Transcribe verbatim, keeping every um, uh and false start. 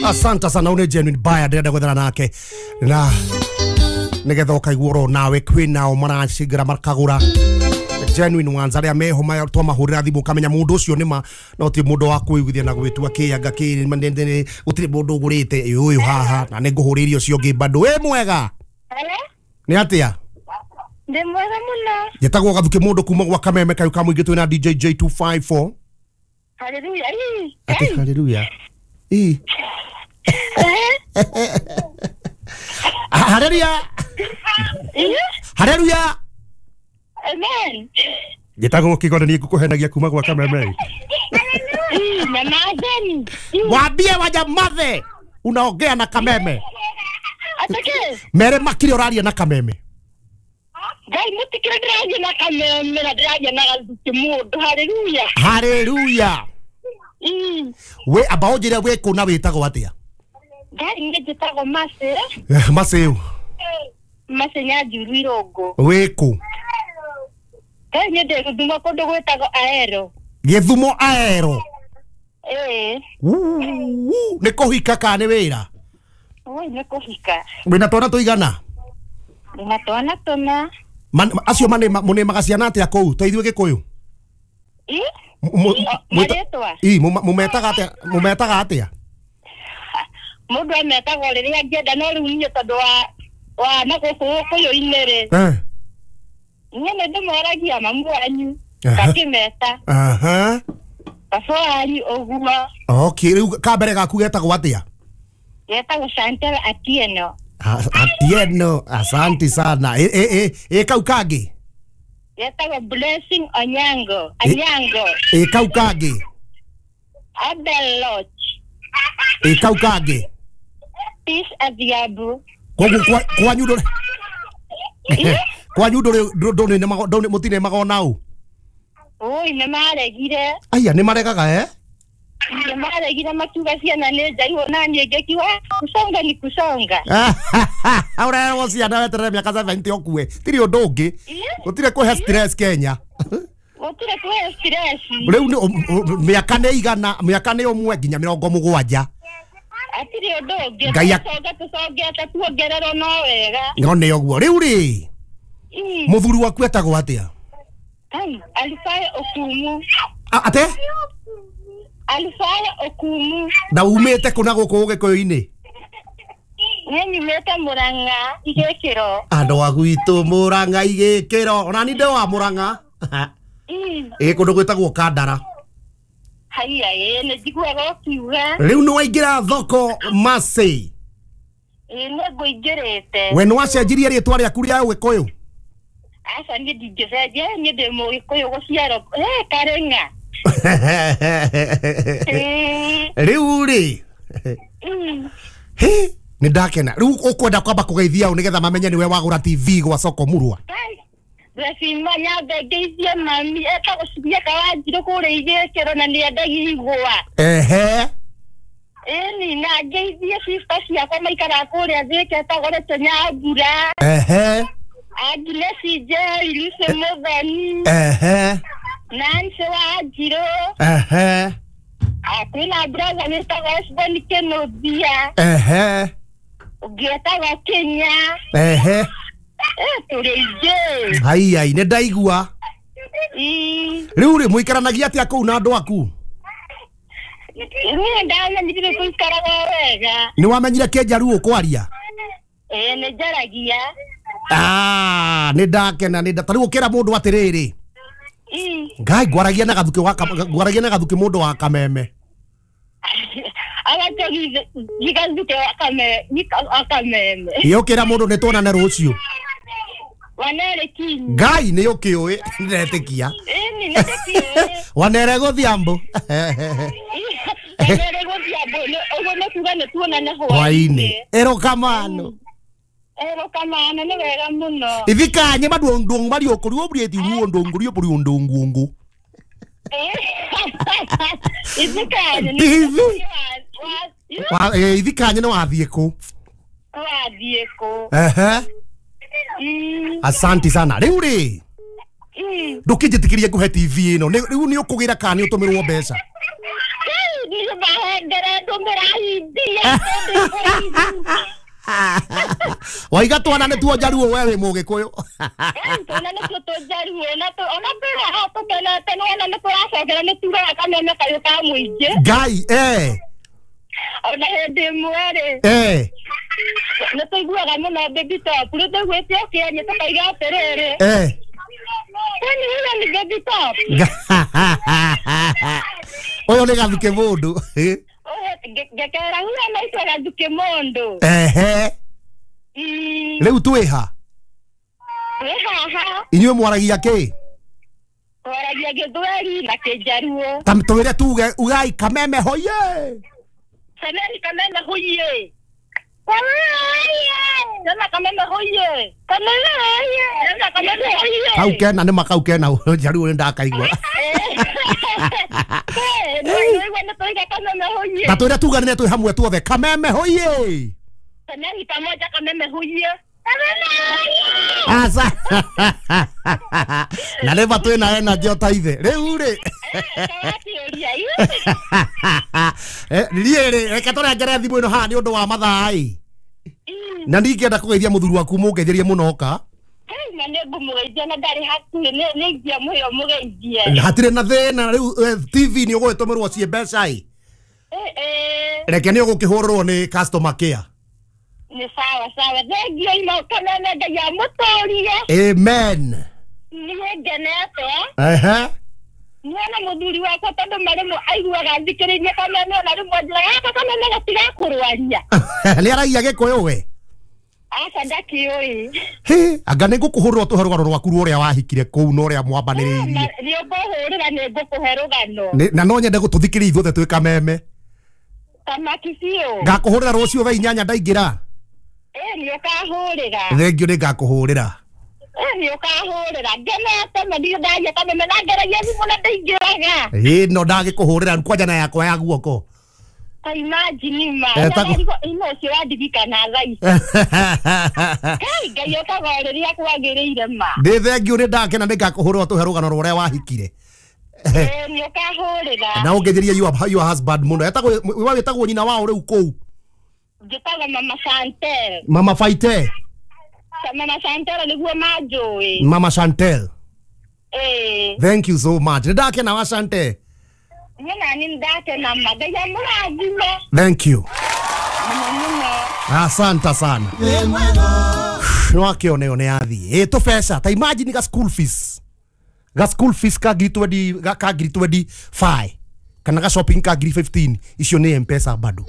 Asante sana une genuine buyer ndĩrenda gwethana nake na nigetha ũkaigua oro nawe kwĩnao maracingĩra makagũra genuine ones arĩa meho twamahũrĩra thimũ ũkamenya mũndũ ũcio nĩma no ti mũndũ wa kwĩiguithia na gwĩtua kĩanga kĩ gũtirĩ mũndũ ũgũrĩte ũyũ haha na nĩ ngũhũrĩria ũcio ũngĩ bado. Wĩ mwega? Nĩ atĩa? Ndĩ mwega mũno. Njĩtagwo Gathuki mũndũ kuma gwa Kameme kayu ka mũingĩ twĩna D J J two five four. Haleluya. Ati haleluya. Ii. Haleluya. Haleluya. Amen. Njĩtagwo Kĩgore niĩ ngũkũhenagia kuma gwa Kameme. Nyamazeni. Waambie wanyamaze. Unaongea na Kameme. Atake. Mere makiri ũraria na Kameme. Ngai mutikire ndĩraria na Kameme na ndĩraria na Gathuki mũndũ. Haleluya. Haleluya. We amba ũnjĩre wĩ kũ na wĩtagwo atĩa? Ngai niĩ njĩtagwo Mercy. Mercy. Mercy Nyanjuru Irũngũ. Wĩ kũ? Ngai niĩ ndĩ Gĩthumo kũndũ gwĩtagwo Aero. Gĩthumo Aero? Ĩĩ. Nĩ kũhika kana nĩ wĩra? Oi nĩ kũhika. Wĩna twana tũigana? Ndĩna twana tũna. Acio mũnĩmaga ciana atĩa kũu ta ithuĩ Gĩkũyũ? Ĩ? Marĩtwa? Ĩ, mũmetaga atĩa? Mũmetaga atĩa? Mũndũ ametagwo rĩrĩa angĩenda no rĩu niĩ tondũ wa wa na gũkũ Gĩkũyũ-inĩ rĩ. Eh. Niĩ nĩ ndĩmoragia mamu wanyu ngakĩmeta. Aha. Baba wanyu ũguo. Okay, rĩu ka mbere gaku getagwo atĩa? Getagwo Chantel Atieno. Atieno, asante sana. E e e kau kangĩ? Getagwo Blessing Onyango. Anyango. E kau kangĩ? Abel Lodge. E kau kangĩ? Peace Adhiambo. Koguo kwanyu ndũrĩ kwanyu ndũrĩ ndũrĩ mũtinemaga ona ũ? Oi nĩ maregire. Aya nĩ maregaga eh? Nĩ maregire makiuga ciana nĩ njaihũ na niĩ ngĩkiuga kusonga ni kusonga. Ũrerwo ciana weterere mĩaka seventy ũkue. Tirĩ ũndũ ũngĩ. Gũtirĩ kũhe stress Kenya. Gũtirĩ kũhe stress. Rĩu mĩaka nĩ igana, mĩaka nĩ ũmwe nginya mĩrongo mũgwanja. Atirĩ ũndũ ũngĩ. Tũconge tũcongete tuongererwo no wega. No nĩ ũguo. Rĩu rĩ, mũthuri waku etagwo atĩa? Alfayo Okumu. Ate? Alfayo Okumu. Na umĩte kũ na gũkũ Gĩkũyũ-inĩ? Niĩ nyumĩte Mũrang'a Igĩkĩro. Andũ a gwitũ Mũrang'a Igĩkĩro. Ona niĩ ndĩ wa Mũrang'a. Ĩ kũndũ gwĩtagwo Kandara. Haiya ĩ nĩ njiguaga ũkiuga. Rĩu nĩ waingĩra thoko Mercy? Ĩ nĩ ngũingĩrĩte. We nĩ wacenjirie rĩtwa rĩaku rĩa Ũgĩkũyũ? Aca niĩ ndingĩcenjia, niĩ ndĩ Mũgĩkũyũ gũciarwo Karĩng'a. Rĩu rĩ, hĩ nĩ ndakena. Rĩu ũkwenda kwamba kũgeithia ũ nĩgetha mamenye nĩwe wagũra T V gwa Soko Murwa? Blessing nyambe ngeithie mami etagwo Cibieka Wanjirũ kũrĩa Igĩkĩro na nĩ endagia igwa. Ehe. Ĩni na ngeithie sister ciakwa maikaraga kũrĩa Thĩka etagwo Rachel Nyambura. Ehe. Agnes Njeri, Lucy Mũthoni. Ehe. Nancy Wanjirũ. Ehe. Kwĩna brother wĩtagwo Osborn Kĩnũthia. Ehe. Ũngĩ etagwo Kĩnya. Ehe. Tũrĩ aingĩ. Ai ai nĩ ndaigua. Rĩu rĩ mũikaranagia atĩa kũu na andũ aku? Niĩ ndamenyire gũikaraga wega. Nĩ wamenyire Kĩnjaruo kwaria? Ĩĩ nĩ njaragia. Ah, nĩ ndakena nĩ ta rĩu ũkĩra mũndũ atĩrĩrĩ. Ngai ngwaragia na Gathuki wa ngwaragia na Gathuki mũndũ wa Kameme. Gathuki wa Kameme. Ĩ ũkĩra mũndũ nĩ tuonane rũciũ. Wanere kinyi. Ngai nĩ ũkĩũĩ ndĩretĩkia. Ĩni nĩ ndĩkĩũĩ. Wanere gũthiambo. Wanere gũthiambo ũguo nĩ kuga nĩ tuonane hwainĩ. Erokamano. Erokamano nĩ wega mũno. Ithikanye maduong duong marioko ruo brieti ruo ndongo rio buri ndongo. Ithikanye. Wa ithikanye nĩ wathiĩ kũ? Wathiĩ kũ? Ehe. Asante sana. Rĩu rĩ ndũkĩnjĩtĩkĩrie ngũhe T V ĩno rĩu nĩ ũkũgĩra kana nĩ ũtũmĩrwo mbeca? Niĩ mahendere ndũmĩra Ngenete kũraihu. Waiga twana nĩ tuo njaruo we wĩ mũgĩkũyũ. Twana nĩtuo tũnjaruo na ona twĩra haha tũkenete nĩwona nĩ tũracokera nĩ tugaga kameme kayũ ka mũingĩ. Ngai eh. Ona hĩndĩ ĩmwe rĩ eh nĩ tũiguaga mũno Baby Top rĩu tũiguĩte ũkĩaria tũkaiga atĩrĩrĩ eh kwani huyo ni Baby Top? Ũyũ nĩ Gathuke mũndũ. Ngekera huyo anaitwa Gathuke mũndũ. Ehe. Rĩu twĩ ha? Twĩ haha. Inyuĩ mwaragia kĩ? Twaragia Gĩthweri na Kĩnjaruo. Ta twĩre tuge ugai kameme hoye. Semeni kameme hoye. Sema kameme hoye. Kameme hoye. Sema kameme hoye. Kau kena nĩ makau kena Njaruo nĩ ndakaigua. Ta twĩre tuganĩre twĩ hamwe tuothe kameme hoye. Semeni pamoja kameme hoye. Kameme hoye. Asa. Na rĩu twĩna energy o ta ithe. Rĩu rĩ. Niĩ rĩ reke tũrengere thimũ ĩno haha nĩ ũndũ wa mathaa ĩ. Na ndingĩenda kũgeithia mũthuri waku mũngeithĩrie mũno oka. Na nĩ ngũmũgeithia na ndarĩ hakuhĩ nĩ ingĩamũhe ũmũgeithie. Hatirĩ na thĩna rĩu T V nĩ ũgũgĩtũmĩrwo ciĩ mbeca ĩ. Reke nĩ ũgũkĩhũrĩrwo nĩ customer care. Nĩ sawa sawa. Thengiũ ino kameme Ngai amũtũrie. Amen. Niĩ ngenete. Ehe. Niĩ na mũthuri wakwa tondũ marĩmwe aiguaga thikĩrĩirie kameme ona rĩmwe anjĩraga gaka kameme gatigakũrwaria. Nĩ aragia Gĩkũyũ we? Aca ndakĩũĩ. Hĩ, anga nĩ ngũkũhũrĩra ũtũhe rũgano rwaku rwa ũrĩa wahikire kũu na ũrĩa mwambanĩrĩirie. Nĩ ũkũhũrĩra nĩ ngũkũhe rũgano. Na no nyende gũtũthikĩrĩria ithuothe twĩ kameme. Tamaki biũ. Ngakũhũrĩra rũciũ thaa inyanya ndaingĩra. Ĩ nĩ ũkahũrĩra. Thengiũ nĩ ngakũhũrĩra. Ĩ nĩ ũkahũrĩra. Ngenete ma ndirĩ ndaria kameme na ngeragia thimũ na ndaingĩraga. Ĩ no ndagĩkũhũrĩra kwanja na yakwa ya guoko. Ta imagine ma. Ino ũcio wandirikana thaa ici. Ngai Ngai okaga rĩrĩa kwagĩrĩire ma. Nĩ thengiũ nĩ ndakena nĩ ngakũhũrĩra ũtũhe rũgano rwa ũrĩa wahikire. Ĩ nĩ ũkahũrĩra. Na ũngeithĩrie your your husband mũno. Etagwo we wĩtagwo nyina wao rĩu kũu? Njĩtagwo Mama Chantel. Mama Faite. Mama Chantel nĩguo manjũĩ. Mama Chantel. Ĩ. Thank you so much. Nĩ ndakena wa Chantel. Niĩ nani ndakena ma. Ngai amũrathime. Thank you. Mũno mũno. Asante sana. No akĩone yo nĩ athiĩ. Ĩ tũbeca ta imagine ga school fees. Ga school fees ka ngiri twenty ka ngiri twenty five kana ga shopping ka ngiri fifteen icio nĩ M-Pesa bado.